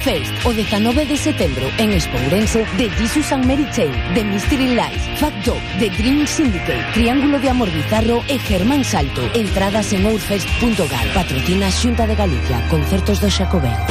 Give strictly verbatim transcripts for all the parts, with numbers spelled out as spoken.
Fest, o dezanove de setembro, en Expo Ourense, de Jesus and Mary Chain, de Mystery Lights, Fat Dog, de Dream Syndicate, Triángulo de Amor Bizarro e Germán Salto. Entradas en ourfest punto gal. Patrocina Xunta de Galicia. Concertos do Xacobeo.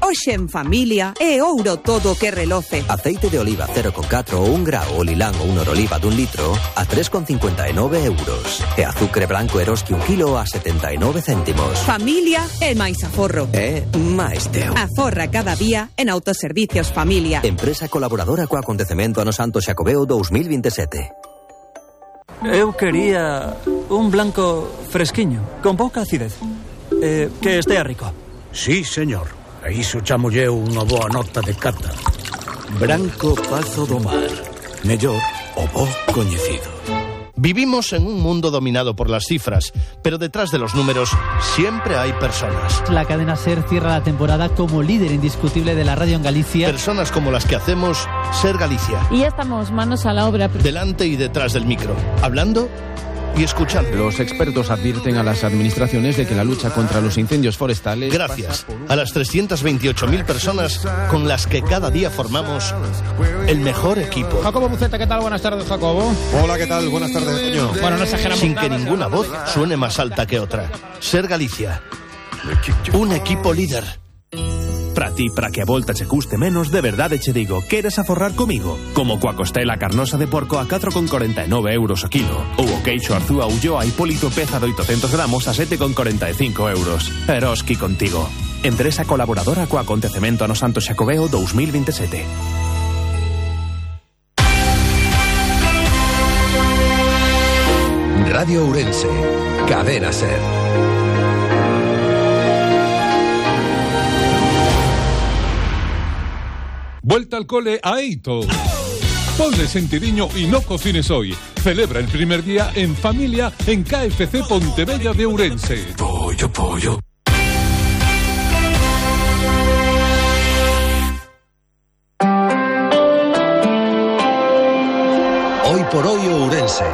Hoxe en familia é ouro todo que reloce. Aceite de oliva cero coma catro ou un grao ou lilán ou un oroliva dun litro a tres coma cincuenta e nove euros. E azucre branco Eroski un kilo a setenta e nove céntimos. Familia é máis aforro. É máis teu. Aforra cada día en Autoservicios Familia. Empresa colaboradora co acontecemento Ano Santo Xacobeo dous mil vinte e sete. Eu quería un blanco fresquiño, con pouca acidez. Eh, que estea rico. Sí, señor. A iso chamolle unha boa nota de cata. Branco Pazo do Mar. Mellor o bo coñecido. Vivimos en un mundo dominado por las cifras, pero detrás de los números siempre hay personas. La cadena SER cierra la temporada como líder indiscutible de la radio en Galicia. Personas como las que hacemos SER Galicia. Y ya estamos manos a la obra. Delante y detrás del micro, hablando y escuchando. Los expertos advierten a las administraciones de que la lucha contra los incendios forestales... Gracias a las trescientas veintiocho mil personas con las que cada día formamos el mejor equipo. Jacobo Buceta, ¿qué tal? Buenas tardes, Jacobo. Hola, ¿qué tal? Buenas tardes, Toño. Bueno, no exageramos Sin nada, que ninguna voz suene más alta que otra. SER Galicia. Un equipo líder. Para ti, para que a volta che custe menos, de verdade che digo, queres aforrar comigo? Como coa costela carnosa de porco a catro coma corenta e nove euros o kilo, ou o queixo arzúa Ulloa Hipólito peza de oitocentos gramos a sete coma corenta e cinco euros. Eroski contigo. Empresa colaboradora co acontecemento Ano Santo Xacobeo dous mil vinte e sete. Radio Ourense, Cadena SER. Vuelta al cole a Eito. Ponle sentidiño y no cocines hoy. Celebra el primer día en familia en K F C Pontevella de Ourense. Pollo, pollo. Hoy por hoy Ourense.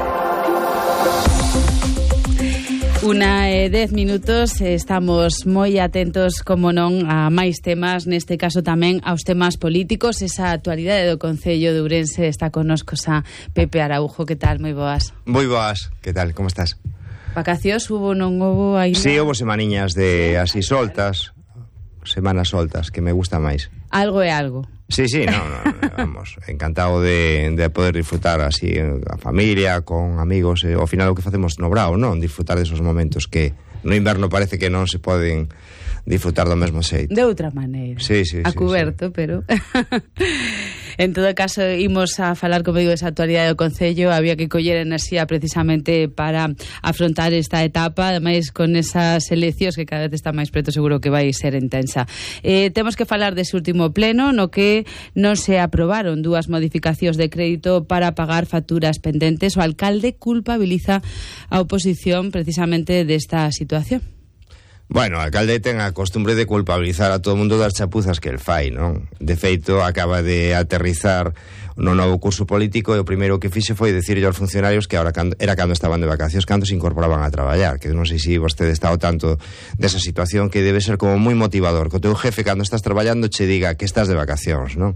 Una e dez minutos, estamos moi atentos, como non, a máis temas, neste caso tamén aos temas políticos. Esa actualidade do Concello de Ourense está connosco a Pepe Araujo. Que tal? Moi boas. Moi boas, que tal? Como estás? Vacacións hubo, non hubo aí? Sí, hubo semaniñas de así soltas, semanas soltas, que me gusta máis. Algo é algo. Sí, sí, no, no, vamos, encantado de, de poder disfrutar así a familia, con amigos, eh, ao final o que facemos no Brao, non? Disfrutar desos momentos que no inverno parece que non se poden disfrutar do mesmo xeito. De outra maneira. Sí, sí, a sí, cuberto, sí. pero... En todo caso, imos a falar comigo desa actualidade do Concello. Había que coller enerxía precisamente para afrontar esta etapa, ademais con esas eleccións que cada vez está máis preto, seguro que vai ser intensa. Eh, temos que falar dese último pleno no que non se aprobaron dúas modificacións de crédito para pagar facturas pendentes. O alcalde culpabiliza a oposición precisamente desta situación. Bueno, o alcalde ten a costumbre de culpabilizar a todo o mundo das chapuzas que el fai, non? De feito, acaba de aterrizar no novo curso político e o primeiro que fixe foi dicirlle aos funcionarios que ahora cando, era cando estaban de vacacións, cando se incorporaban a traballar, que non sei se vostede está ao tanto desa situación, que debe ser como moi motivador, que o teu jefe cando estás traballando che diga que estás de vacacións, non?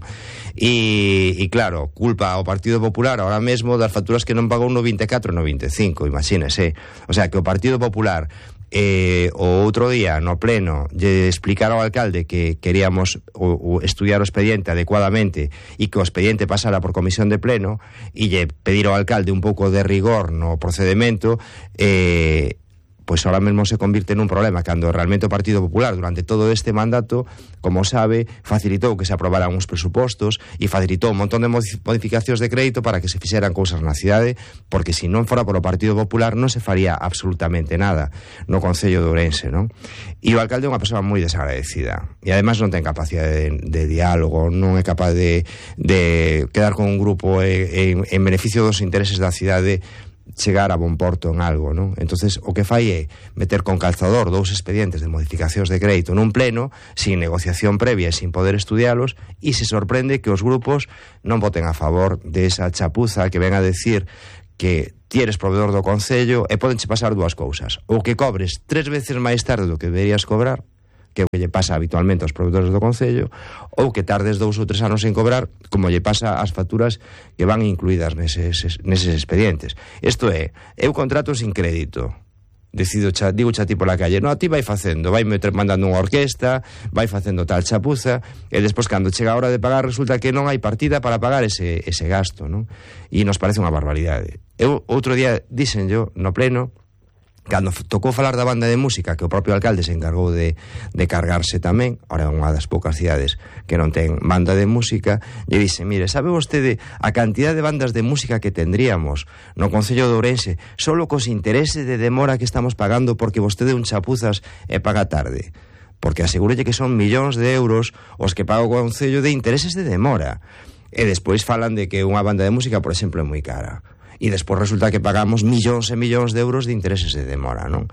E, e claro, culpa ao Partido Popular ahora mesmo das facturas que non pagou no vinte e catro e no vinte e cinco, imagínese. O sea, que o Partido Popular Eh, o outro día no pleno lle explicar ao alcalde que queríamos o, o estudiar o expediente adecuadamente e que o expediente pasara por comisión de pleno e lle pedir ao alcalde un pouco de rigor no procedimento, eh, pois ahora mesmo se convirte nun problema, cando realmente o Partido Popular durante todo este mandato, como sabe, facilitou que se aprobaran uns presupostos e facilitou un montón de modificacións de crédito para que se fixeran cousas na cidade, porque se non fora polo Partido Popular non se faría absolutamente nada no Concello de Ourense, non? E o alcalde é unha persoa moi desagradecida e ademais non ten capacidade de, de diálogo, non é capaz de, de quedar con un grupo en, en beneficio dos intereses da cidade, chegar a bon porto en algo, non? Entonces, o que fai é meter con calzador dous expedientes de modificacións de crédito nun pleno, sin negociación previa e sin poder estudialos, e se sorprende que os grupos non voten a favor de esa chapuza que ven a decir que ti eres proveedor do Concello e podenche pasar dúas cousas. Ou que cobres tres veces máis tarde do que deberías cobrar, que é o que lle pasa habitualmente aos produtores do Concello, ou que tardes dous ou tres anos en cobrar, como lle pasa ás facturas que van incluídas neses, neses expedientes. Isto é, eu contrato sin crédito, decido, cha, digo xa ti pola calle, no, a ti vai facendo, vai mandando unha orquesta, vai facendo tal chapuza, e despois cando chega a hora de pagar resulta que non hai partida para pagar ese, ese gasto, non? E nos parece unha barbaridade. Eu outro día dixen yo no pleno, cando tocou falar da banda de música, que o propio alcalde se encargou de, de cargarse tamén, ora é unha das poucas cidades que non ten banda de música, lle dixe, mire, sabe vostede a cantidad de bandas de música que tendríamos no Concello de Ourense, solo cos intereses de demora que estamos pagando porque vostede un chapuzas e paga tarde? Porque asegúrelle que son millóns de euros os que paga o Concello de intereses de demora. E despois falan de que unha banda de música, por exemplo, é moi cara. E despois resulta que pagamos millóns e millóns de euros de intereses de demora, non?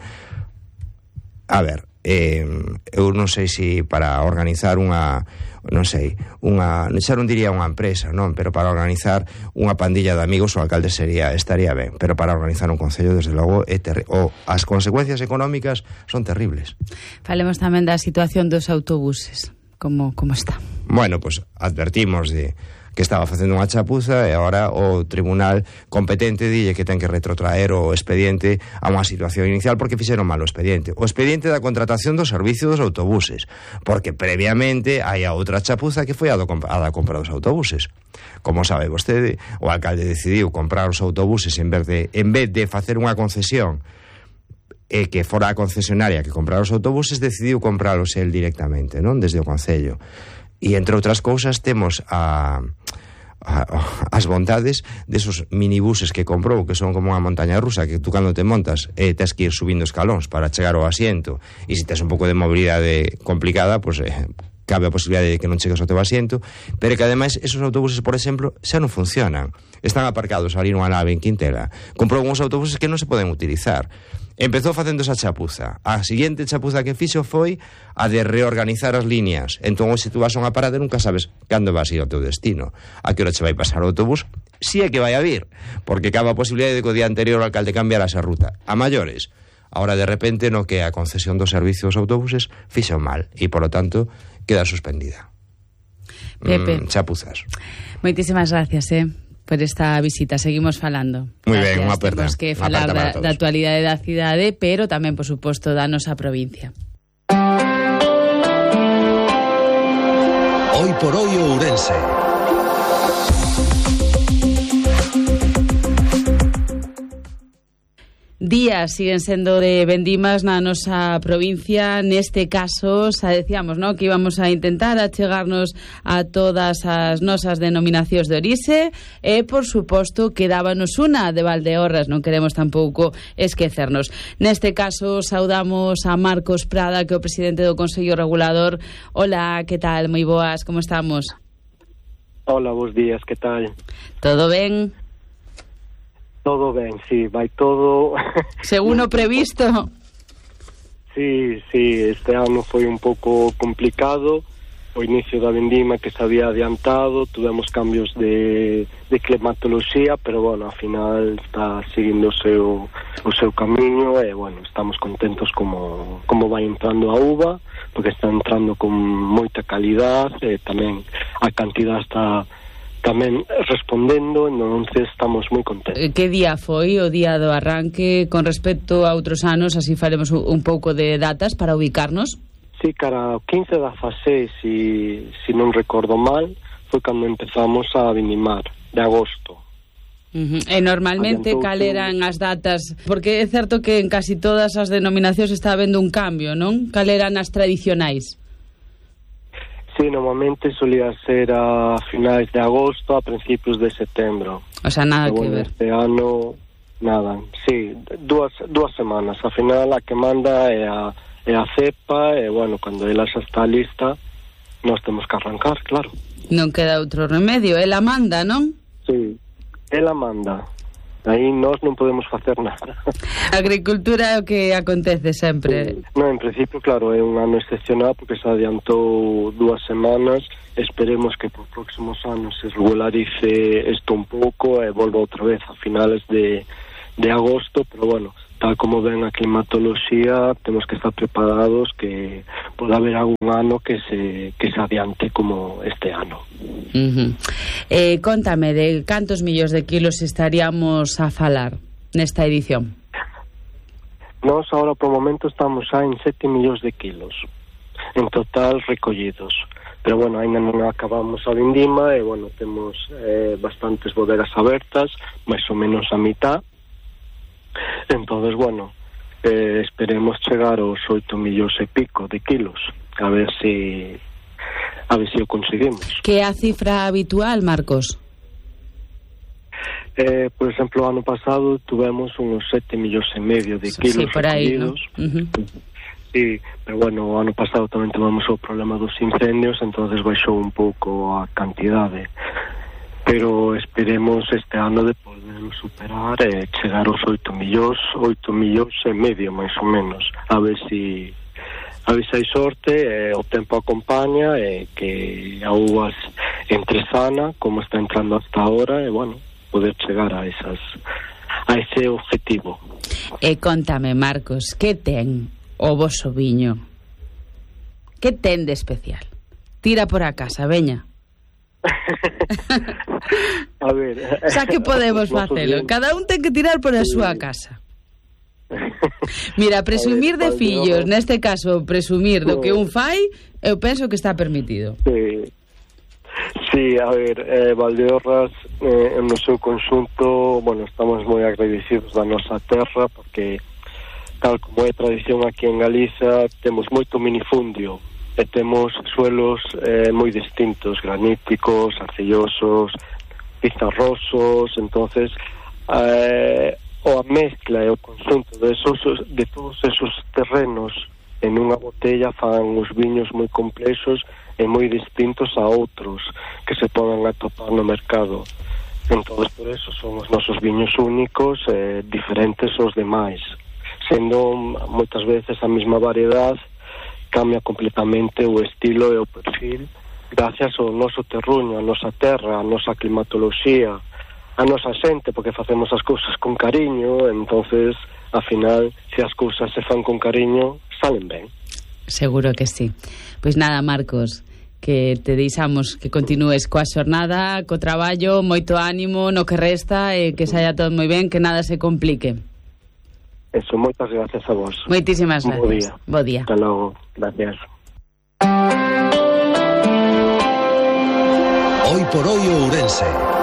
A ver, eh, eu non sei se para organizar unha, non sei, unha, xa non diría unha empresa, non, pero para organizar unha pandilla de amigos o alcalde sería, estaría ben, pero para organizar un concello, desde logo, é terri- o as consecuencias económicas son terribles. Falemos tamén da situación dos autobuses, como, como está? Bueno, pois pues, advertimos de que estaba facendo unha chapuza e agora o tribunal competente dille que ten que retrotraer o expediente a unha situación inicial porque fixeron mal o expediente. O expediente da contratación do servicio dos autobuses, porque previamente hai a outra chapuza que foi a, do, a da compra dos autobuses. Como sabe vostede, o alcalde decidiu comprar os autobuses en vez de, en vez de facer unha concesión e que fora a concesionaria que comprar os autobuses, decidiu compralos el directamente, non? Desde o Concello. E, entre outras cousas, temos a, a, as bondades desos minibuses que comprou, que son como unha montaña rusa, que tú cando te montas eh, tens que ir subindo escalóns para chegar ao asiento, e se tens un pouco de mobilidade complicada, pois pues, eh, cabe a posibilidade de que non chegues ao teu asiento, pero que ademais esos autobuses, por exemplo, xa non funcionan, están aparcados ali nunha nave en Quintela. Comprou uns autobuses que non se poden utilizar. Empezou facendo esa chapuza. A seguinte chapuza que fixo foi a de reorganizar as líneas. Entón, se tú vas a unha parada, nunca sabes cando vas a ir ao teu destino. A que hora che vai pasar o autobús? Si é que vai a vir, porque cabe a posibilidade de que o día anterior o alcalde cambiara esa ruta. A maiores. Ahora, de repente, no que a concesión dos servicios dos autobuses fixo mal e, por lo tanto, queda suspendida. Pepe. Mm, chapuzas. Moitísimas gracias, eh. por esta visita, seguimos falando. Moi ben, unha aperta. Temos que falar da, da actualidade da cidade, pero tamén, por suposto, da nosa provincia. Hoy por hoy Ourense. Días siguen sendo de vendimas na nosa provincia. Neste caso, xa decíamos, ¿no?, que íbamos a intentar achegarnos a todas as nosas denominacións de orixe e, por suposto, quedábanos unha de Valdeorras, non queremos tampouco esquecernos. Neste caso, saudamos a Marcos Prada, que é o presidente do Consello Regulador. Hola, que tal? Moi boas, como estamos? Hola, bons días, que tal? Todo ben? Todo ben, sí, vai todo... Según o previsto? Sí, sí, este ano foi un pouco complicado, o inicio da vendima que se había adiantado, tuvemos cambios de, de climatoloxía, pero, bueno, ao final está seguindo o seu, o seu camiño e, bueno, estamos contentos como, como vai entrando a uva, porque está entrando con moita calidad e tamén a cantidad está... tamén respondendo, entonces estamos moi contentos. Que día foi o día do arranque con respecto a outros anos? Así faremos un pouco de datas para ubicarnos. Sí, cara, o quince de dezasseis, si, si non recordo mal, foi cando empezamos a vendimar, de agosto. Uh-huh. E normalmente cal eran as datas? Porque é certo que en casi todas as denominacións está habendo un cambio, non? Cal eran as tradicionais? Sí, normalmente solía ser a finais de agosto, a principios de setembro. O sea, nada Pero, que bueno, ver. Este ano, nada. Sí, dúas, dúas semanas. A final, a que manda é a, é a cepa, e, bueno, cando ela xa está lista, nós temos que arrancar, claro. Non queda outro remedio. Ela manda, non? Sí, ela manda. Aí nós non podemos facer nada. A agricultura é o que acontece sempre. Sí. No, en principio, claro, é un ano excepcional porque se adiantou dúas semanas. Esperemos que por próximos anos se regularice isto un pouco e volva outra vez a finales de, de agosto, pero bueno, tal como ven a climatoloxía, temos que estar preparados que pode haber algún ano que se que se adiante como este ano. Uh-huh. Eh, contame, de cantos millóns de kilos estaríamos a falar nesta edición? Nós agora por momento estamos xa en sete millóns de kilos en total recollidos, pero bueno, ainda non acabamos a vindima e bueno, temos eh, bastantes bodegas abertas, máis ou menos a mitad. Entonces, bueno, eh, esperemos chegar aos oito millóns e pico de kilos, a ver si a ver si o conseguimos. Que é a cifra habitual, Marcos? Eh, por exemplo, o ano pasado tuvemos unos sete millóns e medio de kilos sí, por aí, ¿no? Uh-huh. Sí, pero bueno, o ano pasado tamén tivemos o problema dos incendios, entonces baixou un pouco a cantidade. Pero esperemos este ano de poder superar e eh, chegar aos oito millóns, oito millóns e medio, máis ou menos. A ver si a ver se hai sorte, eh, o tempo acompaña, e eh, que a uvas entre sana, como está entrando hasta ahora, e eh, bueno, poder chegar a esas a ese objetivo. E contame, Marcos, que ten o voso viño? Que ten de especial? Tira por a casa, veña. A ver, xa que podemos facelo, cada un ten que tirar por a sí. súa casa. Mira, presumir ver, de fillos, yo... neste caso, presumir do que un fai, eu penso que está permitido. Sí. Sí, a ver, eh, Valdeorras eh, no seu conxunto, bueno, estamos moi agradecidos da nosa terra porque tal como é tradición aquí en Galiza, temos moito minifundio e temos suelos eh, moi distintos, graníticos, arcillosos, pizarrosos, entonces eh, o a mezcla e o conxunto de, esos, de todos esos terrenos en unha botella fan os viños moi complexos e moi distintos a outros que se poden atopar no mercado. Entonces, por eso son os nosos viños únicos e eh, diferentes aos demais. Sendo moitas veces a mesma variedade, cambia completamente o estilo e o perfil gracias ao noso terruño, a nosa terra, a nosa climatoloxía, a nosa xente, porque facemos as cousas con cariño, entonces, ao final, se as cousas se fan con cariño, salen ben. Seguro que sí. Pois nada, Marcos, que te deixamos que continúes coa xornada, co traballo, moito ánimo no que resta e que saia todo moi ben, que nada se complique. Eso, moitas gracias a vos. Moitísimas gracias. Bo día. Bo día. Hasta logo. Gracias. Hoy por hoy Ourense.